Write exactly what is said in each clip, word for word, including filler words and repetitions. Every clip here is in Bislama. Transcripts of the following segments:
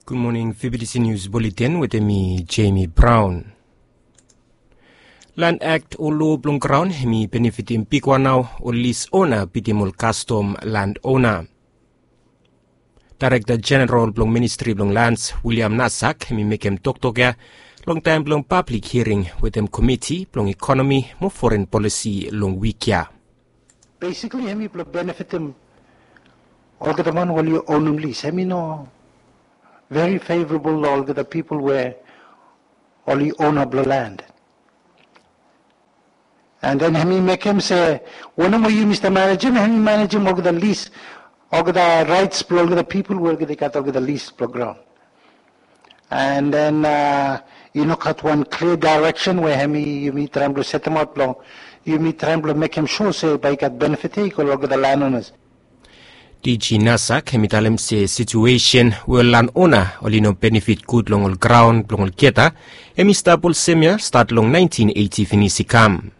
Gud moning, V B T C News Bulletin wetem mi, Jamie Brown. Land Act o loa blong graon hemi benefitim bigwan nao ol lis ona bitim ol kastom land ona. Daerekta Jeneral blong Ministri blong Lands, William Nasak, hemi mekem toktok ya longtaem blong pablik hiaring wetem komiti blong ekonomi mo foren polisi long wik ya. Basically hemi blong benefitim olgeta man we oli onem lis. Hemi no very favorable long olgeta pipol we oli ona blong land. And then hemi mekem se wanem we yumi stap manejem, hemi manejem olgeta lis, olgeta raets blong olgeta pipol we olgeta i gat olgeta lis blong graon. And then i no gat wan klia daereksen we hemi yumi traem blong setemaot blong yumi traem blong mekem sua se bae i gat benefit ya i go long olgeta land owners. DG Nasak hemi talem se situesen we ol land ona oli no benefit gud long ol graon blong olgeta, hemi stap olsem ya stat long naentin eiti finis i kam.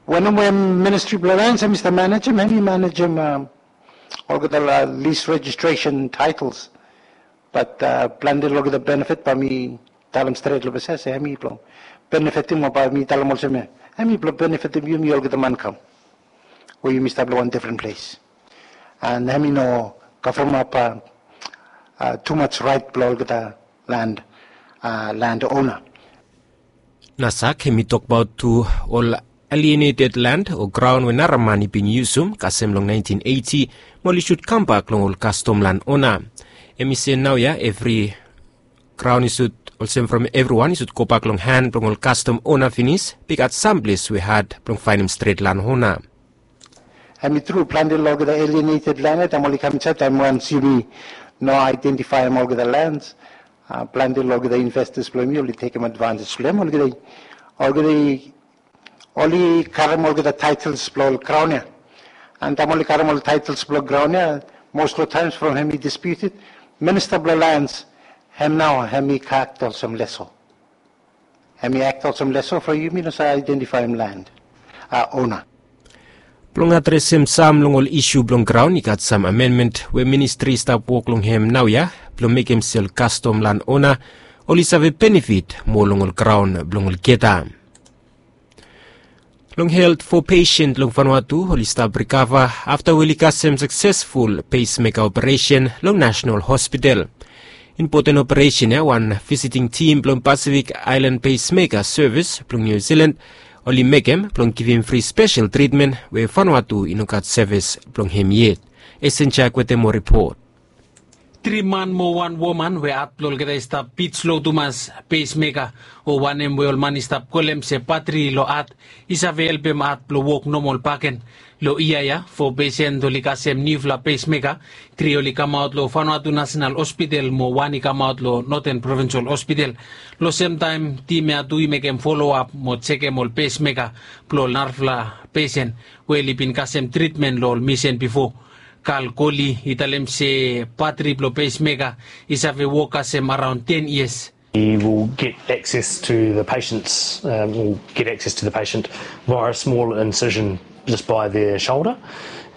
Wanem we Ministri blong Lands hemi stap manejem, hemi manejem olgeta lis rejistresen taetels. Bat plante long olgeta benefit bae mi talem stret long ples ya se hemi blong benefitim, o bae mi talem olsem ya, hemi blong benefitim yumi olgeta man kam we yumi stap long wan defren ples. And hemi no kavremap tumaj raet blong olgeta land, land ona. Nasak hemi tokbaot tu ol alienated land o graon we nara man i bin yusum kasem long naentin eiti, mo oli sud kambak long ol kastom land ona. Hemi se naoia evri graon i sud, olsem from evriwan i sud gobak long han blong ol kastom ona finis, be i gat sam ples we had blong faenem stret land ona. Hemi tru, plante long olgeta alienated land ya, taem oli kam insaed, taem wans yumi no aedentifaem olgeta lands, plante long olgeta investas blong yumi oli tekem advantage blong hem, olgeta i, olgeta i oli karem olgeta taetels blong ol graon ya. And taem oli karem ol taetels blong graon ya, most of the times from hemi disputed, Minista blong Lands hem nao hemi akt olsem leso. Hemi akt olsem leso from yumi no save aedentifaem land ona. Blong adresem sam long ol isu blong graon, i gat sam amenmen we ministri i stap wok long hem naoia blong mekem se ol kastom land ona oli save benefit moa long ol graon blong olgeta. Long helt, fo pesen long Vanuatu oli stap rikava afta we oli kasem saksesful pesmeka operesen long Nasenal Hospital. Impoten operesen ya, wan visiting tim blong Pacific Island Pacemaker Service blong New Zealand oli mekem blong givim fri spesel tritmen we Vanuatu i no gat sevis blong hem yet. Esen Jack wetem moa ripot. Tri man mo wan woman we at blong olgeta i stap bit slo tumas, pacemaker, o wanem we ol man i stap kolem se batri long at, i save helpem at blong wok nomol bakegen. Long yia ya, fo pesen oli kasem niufala pacemaker, tri oli kamaot long Vanuatu Nasenal Hospital mo wan i kamaot long Northern Provincial Hospital. Long semtaem tim ya tu i mekem foloap mo jekem ol pacemaker blong ol narafala pesen we oli bin kasem tritmen long ol misin bifo. Kal Koli i talem se batri blong pacemaker i save wok kasem araon ten yias. We will get access to the patient's, um, we'll get access to the patient via a small incision just by their shoulder,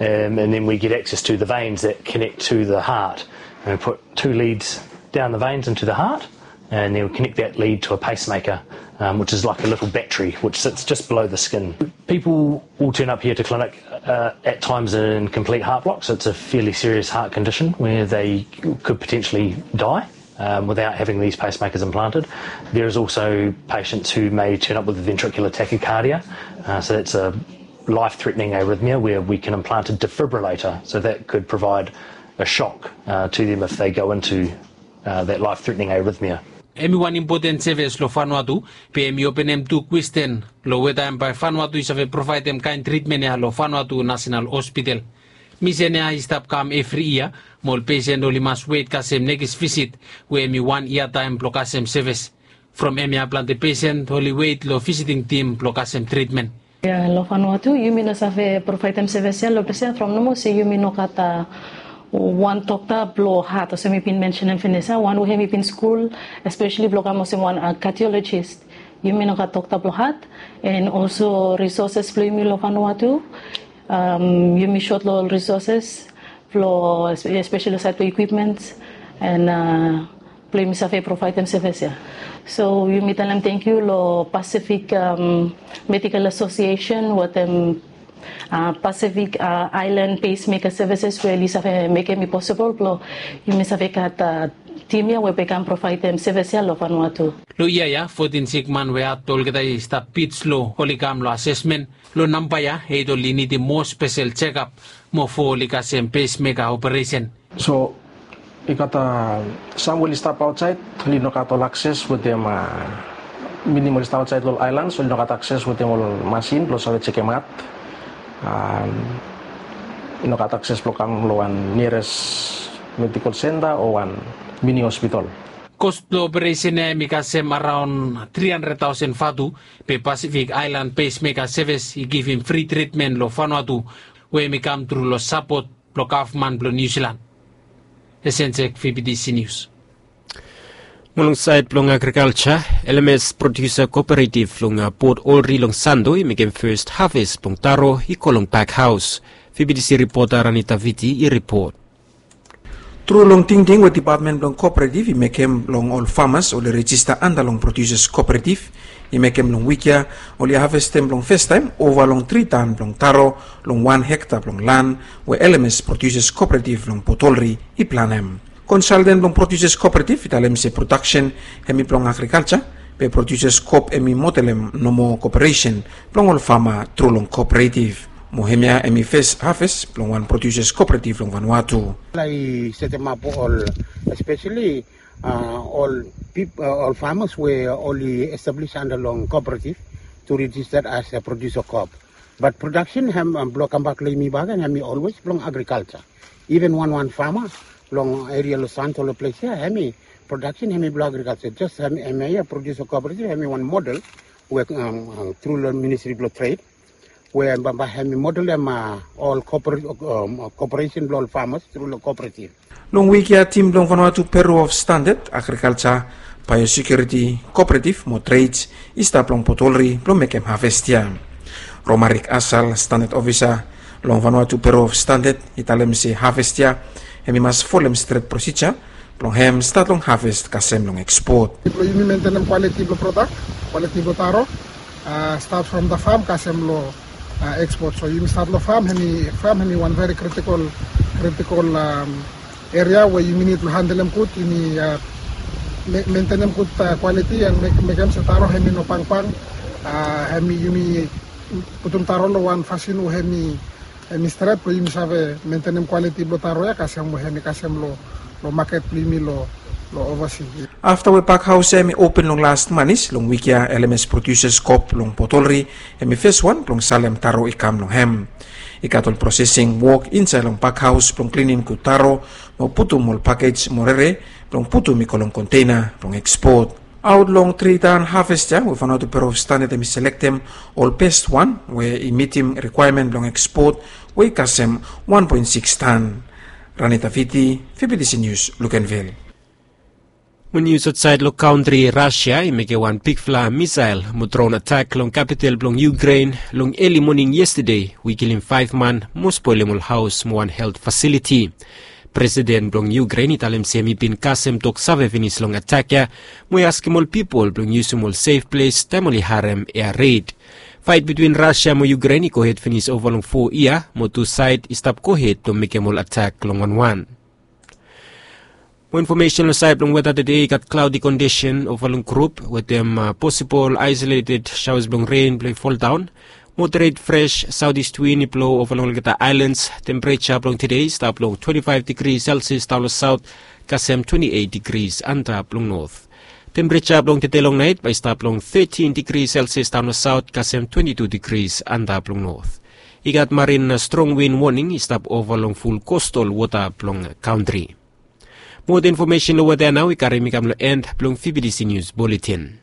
um, and then we get access to the veins that connect to the heart. And we put two leads down the veins into the heart, and then we connect that lead to a pacemaker, um, which is like a little battery which sits just below the skin. People will turn up here to clinic uh, at times in complete heart block, so it's a fairly serious heart condition where they could potentially die um, without having these pacemakers implanted. There is also patients who may turn up with ventricular tachycardia, uh, so that's a life-threatening arrhythmia where we can implant a defibrillator, so that could provide a shock uh, to them if they go into uh, that life-threatening arrhythmia. Hemi wan impoten sevis long Vanuatu, be hemi openem tu kwestin long weta hem bae Vanuatu i save provaedem kaen tritmen ya long Vanuatu Nasenal Hospital. Misin ya i stap kam evri yia, mo ol pesen oli mas wet kasem nekis visit, we hemi wan yia taem blong kasem sevis. From hemia plante pesen oli wet long visiting tim blong kasem tritmen. Ya, long Vanuatu yumi no save provaedem sevis ya long ples ya from nomo se yumi no gat wan dokta blong hat, olsem mi bin mensenem finis ya, wan we hemi bin skul espeseli blong kam olsem wan kardiolojis. Yumi no gat dokta blong hat, and also risoses blong yumi long Vanuatu, yumi sot long ol risoses blong, espeseli long saed blong ekwipmens. And blong yumi save provaedem sevis ya. So yumi talem tangkiu long Pacific Medical Association wetem Pacific Island Pacemaker Services we oli save mekem i posibol blong yumi save gat tim ya we bai kam provaedem sevis ya long Vanuatu. Long yia ya fotin sikman we hat olgeta i stap bit slo oli kam long asesmen. Long namba ya eit oli nidim moa spesel jekap mo fo oli kasem pacemaker operesen. So i gat sam we oli stap aotsaed, oli no gat ol akses wetem, minim oli stap aotsaed long ol aelan, so oli no gat akses wetem ol masin blong save jekem hat. I no gat akses blong kam long wan niares medikol senta o wan mini hospital. Kos blong operesen ya hem i kasem araon tri handred taosen vatu, be Pacific Island Pacemaker Services i givim fri tritmen long Vanuatu we hem i kam tru long sapot blong gavman blong Niu Silan. Esensek, V B T C News. Mo long saed blong agrikalja, L M S Produsa Kooperativ long Port Olri long Sando i mekem fes haves blong taro i go long pakhaos. V B T C ripota Ranita Viti i ripot. Tru long tingting we dipatmen blong kooperativ i mekem blong ol famas oli rejista anda long Produsas Kooperativ, i mekem long wik ya oli havestem blong festaem ova long tri tan blong taro long wan hekta blong lan we L M S Produsas Kooperativ long Port Olri i planem. Konsalten blong Produsas Kooperativ i talem se prodaksen hem i blong agrikalja, be Produsas Koop hem i modelem nomo koperesen blong ol fama tru long kooperativ. Mo hemia hem i fes haves blong wan Produsas Kooperativ long Vanuatu. Lai setemap ol, espeseli ol pip ol famas we oli establis anda long kooperativ tu rejista as a Produsa Koop. Bat prodaksen hem blong kambak long yumi bakegen hem i olwes blong agrikalja. Iven wanwan fama long eria long Sando long ples ya hem i prodaksen hem i blong agrikalja. Jes hem ya Produsa Kooperativ hem i wan model we tru long Ministri blong Tred we bambae hem i modelem ol koperesen blong ol famas tru long kooperativ. Long wik ya tim blong Vanuatu Bureau of Standard, Agrikalja, Biosekuriti, Kooperativ mo Treds i stap long Port Olri blong mekem haves ya. Romarik Asal, standard ofisa long Vanuatu Bureau of Standard, i talem se haves ya hem i mas folem stret prosija blong hem stat long haves kasem long ekspot. Blong yumi mentenem kwaliti blong prodak, kwaliti blong taro, stat from the farm kasem long ekspot. So yumi stat long farm, hem i wan veri kritikol, kritikol eria we yumi nid blong handelem gud, yumi mentenem gud kwaliti and mekem se taro hem i no pangpang. Hem i yumi putum taro long wan fasin we hem i hem i stret blong yumi save mentenem kwaliti blong taro ya kasem we hem i kasem long maket blong yumi long ovasi. Afta we pakhaos ya hem i open long las manis long wik ya, L M S Produsas Koop long Port Olri hem i fes wan blong salem taro i kam long hem. I gat ol prosesing wok insaed long pakhaos blong klinim gud taro mo putum ol pakej mo rere blong putum i go long konteina blong ekspot. Aot long tri tan haves ya we Vanuatu Bureau of Standard hem i selektem ol bes wan we i mitim rikwaemen blong ekspot we i kasem wan poen sikis tan. Ranita Viti, V B T C News, Luganville. Mo nius aotsaed long kantri, Rasia i mekem wan bigfala misael mo dron atak long kapital blong Ukrain long eli moning yestade we i kilim faef man mo spolem ol haos mo wan helt fasiliti. Presiden blong Ukrain i talem se hem i bin kasem toksave finis long atak ya mo i askem ol pipol blong yusum ol sef ples taem oli harem ea red. Faet bitwin Rasia mo Ukrain i gohed finis ova long fo yia mo tu saed i stap gohed blong mekem ol atak long wanwan. Mo infomesen long saed blong weta, tede i gat klaodi kondisen ova long grup wetem posibol aesoleted saoas blong ren blong i foldaon. Moderet fres saotis win i blo ova long olgeta aelans. Tempereja blong tede i stap long twenti faef digri selsias daon long saot kasem twenti eit digris antap long not. Tempereja blong tede long naet bae i stap long tetin digri selsias daon long saot kasem twenti tu digris antap long not. I gat marin strong win woning i stap ova long ful kostal wota blong kantri. Moa infomesen long weta nao i karim mi kam long en blong V B T C Nius Buletin.